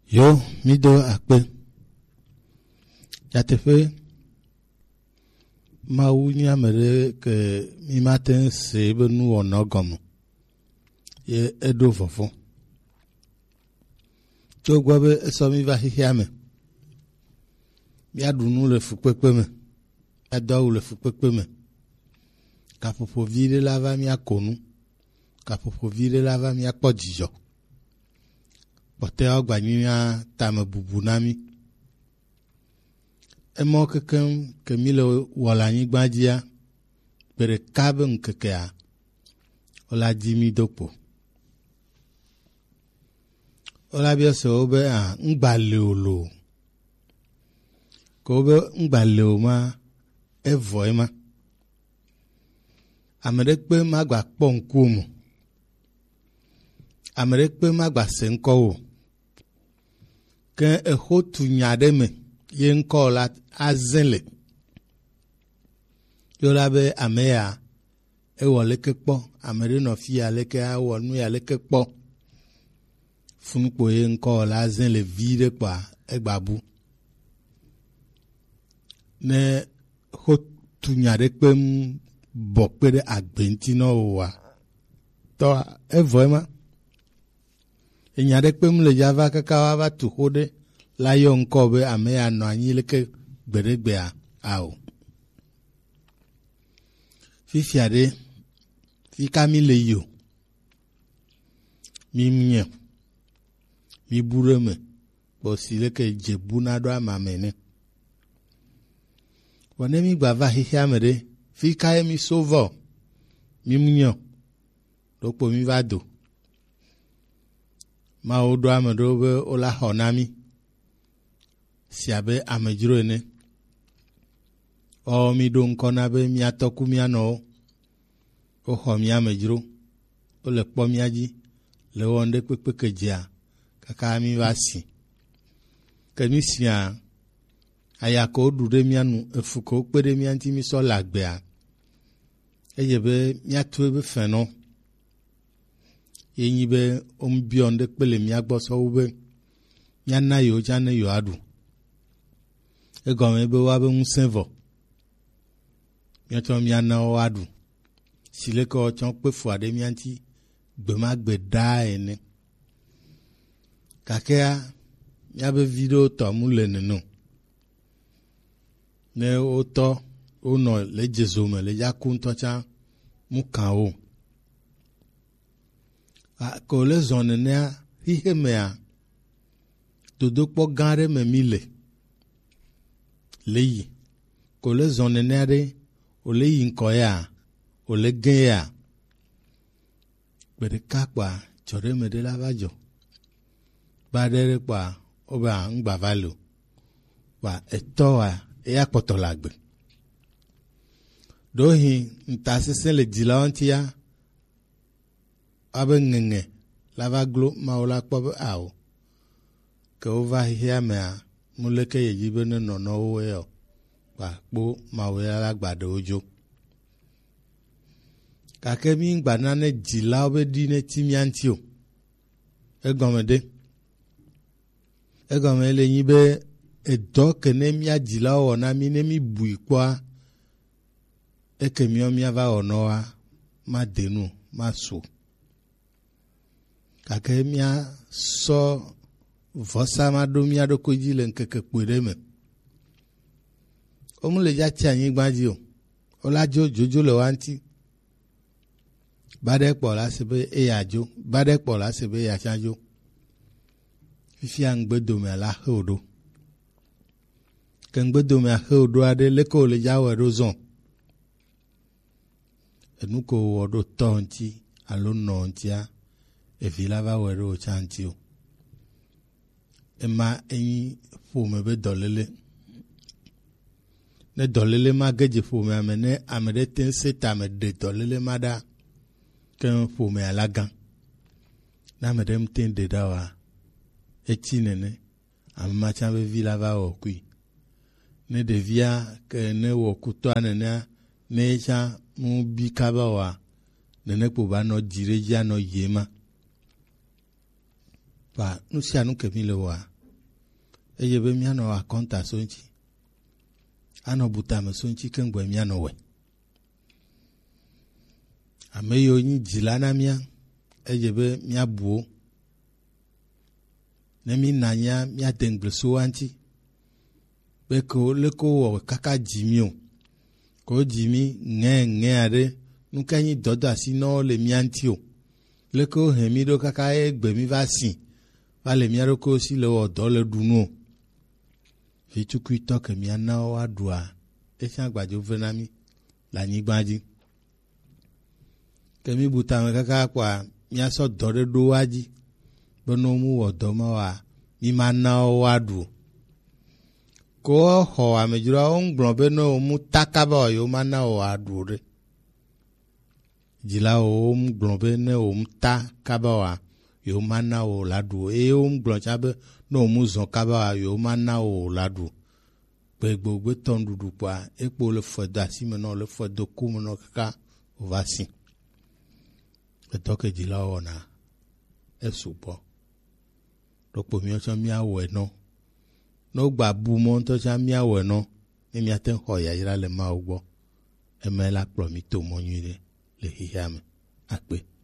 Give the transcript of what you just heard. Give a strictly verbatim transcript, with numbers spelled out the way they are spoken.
Yo, mi do akpe. Nyateƒe, Mawu nye ame ɖe ke mi mate ŋu se be nuwɔna gɔme. Ye eɖo vɔvɔ̃. Tso gbɔ be esɔ mi va xexea me, míaɖu nu le fukpekpe me, míado awu le fukpekpe me. Gaƒoƒo vi ɖe la va míako nu. Gaƒoƒo vi ɖe la va míakpɔ dzidzɔ. Kpɔtɔeawo gba nyi mía tame bubu na mí. Emɔ kekeŋ ke mí le wɔ le anyigba dzia, gbe ɖeka be ŋkekea, wola dzi mí do kpo. Wola biɔ se wo be, a, ŋgba le o lo? Ke wobe ŋgba le o ma, evɔ ema. Ame ɖekpe magba kpɔ ŋkuwò me. Ame ɖekpe magba se ŋkɔ wò. Ke exo tu nya ɖe me, ye ŋkɔ la azẽ le. Yo la be ame ya, ewɔ leke kpɔ, ame ɖe nɔ fi ya leke awɔ nu ya leke kpɔ. Funu kpo ye ŋkɔ la azẽ le vi ɖe kpɔa, egba bu. Ne xo tu nya ɖe kpem bɔ kpe ɖe agbe ŋuti nɔ wòa, tɔ evɔ ema. Enya ɖe kpem le dza va kaka wa va tu xo ɖe la yɔ ŋkɔ be ame ya nɔ anyi leke gbeɖegbea ao. Fifia ɖe, fi ka mi le yi o? Mi nye, mi bu ɖe me, kpɔ si leke dze bu na ɖo ama me ne. Vɔ ne mi gba va xexea me ɖe, fi ka ye mi so vɔ? Mi mu nyɔ, ɖokpo mi va do. Mawu ɖo ame ɖewo be wola xɔ na mi, si abe amedzro ene. Ɔ, mi ɖo ŋkɔ na be mia tɔ ku mia nɔwo. Woxɔ mía amedzro, wole kpɔ mía dzi, le wɔm ɖe kpekpe ke dzea, kaka mí va si. Ke mí sia, aya ke woɖu ɖe mía nu, efu ke wokpe ɖe mía ŋuti mí sɔ le agbea, edze be míatu ebe fɛnɔ. Ye nyi be womebiɔ ŋɖe kpe le mía gbɔ sɔ wu be míana yewo tsã ne yewoaɖu. Egɔme be woabe ŋusẽ vɔ. Míatsɔ míana wo aɖu. Si leke woatsɔ kpe fua ɖe mía ŋuti gbe ma gbe ɖaa ene. Gakea, míabe vi ɖewo tɔ mu le nene o. Ne wotɔ, wonɔ le dzezo me, le dza ku ŋutɔ tsã, mu kã wo. A, ko le zɔ nenea, xixe mea, dodokpɔ gã ɖe me mí le. Le yi. Ko le zɔ nenea ɖe, o le yi ŋkɔ ya, o le gẽ ya. Gbe ɖeka kpɔa, dzɔ ɖe me ɖe la va dzɔ. Ba ɖe ɖe kpɔa, wobe a, ŋgba va le o. Kpɔa, etɔ wa, eya kpɔtɔ le agbe. Ɖewohĩ, ŋutasesẽ le dzilawo ŋutia, abe ŋeŋe la va glo Mawu la kpɔ be ao. Ke wova xexea mea, nu leke yedzi be nenɔ nɔ wo yɔ, kpakpo Mawu ya la gba ɖe wo dzo. Gake mí ŋgba nane dzilawo be ɖi ne ti mía ŋuti o. Egɔme ɖe? Egɔme le nyi be edɔ ke ne mía dzilawo wɔ na mí ne mí bui kpɔa, eke míawo míava wɔ nɔ wa, made nu, masu. Gake míasɔ vɔsa ma ɖo mía ɖokui dzi le ŋkeke kpui ɖe me. Wo mu le dza tsi anyigba dzi o. Wo la dzo dzodzo le wa ŋuti. Ba ɖe kpɔ la se be eya dzo. Ba ɖe kpɔ la se be eya tsã dzo. Fifia ŋgbedomea la xe wo ɖo. Ke ŋgbedomea xe wo ɖo aɖe, leke wo le dza wɔe ɖo zɔ? Enu ko wɔ ɖo tɔ ŋuti alo nɔ ŋutia, evi la va wɔe ɖo wò tsã ŋuti o. Ema enyi ƒome be dɔléle. Ne dɔléle ma ge dze ƒomea me, ne ame ɖe te ŋu se tame ɖe dɔléle ma ɖa, ke ƒomea la gã. Ne ame ɖe ŋute ɖe ɖa oa, etsi nene. Ame ma tsã be vi la va wɔ kui. Ne ɖevia ke ne wɔ kutɔa nenea, ne ye tsã mu bi kaba oa, nene kpo ba nɔ dzi ɖe dzi anɔ yi ema. Kpa nu sia nu ke mi le wɔa, Eye be míanɔ akɔnta so ŋuti, anɔ butame so ŋuti keŋgbɔe míanɔ wɛ. Ame yiwo nyi dzila na mía, edze be míabu wo. Ne mína nya míade ŋugble so woa ŋuti. Be ko leke wowɔ kaka dzi mí o. Ko dzi mí ŋɛ ŋɛ aɖe, nu ka nyi dɔdeasinɔwo le mía ŋuti o. Leke wohe mí ɖo kaka egbe mí va si, va le mía ɖokuiwo si le wɔ dɔ le ɖu nu o. Vitukui tɔ ke mía na wo woaɖua, etsã agbadzo ve na mí le anyigba dzi. Ke mí bu tame kaka kpɔa, míasɔ dɔ ɖe ɖo woa dzi, be ne womu wɔ dɔ ma oa, mí ma na wo woaɖu o. Ko xɔ amedzroawo ŋgblɔ be ne womu ta kaba oa, yewo ma na wo woaɖu o ɖe. Dzilawo ŋgblɔ be ne womu ta kaba oa, yewo ma na wo woaɖu o. Eye woŋgblɔ tsã be ne womu zɔ kaba oa, yewo ma na wo woaɖu o. Gbegbogbe tɔ nuɖuɖu kpɔa, ekpo le fɔedo asime nɔ, le fɔedo kome nɔ kaka wòva si. Edɔ ke dzilawo wɔna, esu gbɔ. Ɖokpo míawo tsã míawɔe nɔ. Ne wogba bu mɔ ŋutɔ tsã míawɔe nɔ, ne míate ŋu xɔ yayra le Mawu gbɔ. Eme la kplɔ mí to mɔ nyui ɖe le xexea me. Akpe.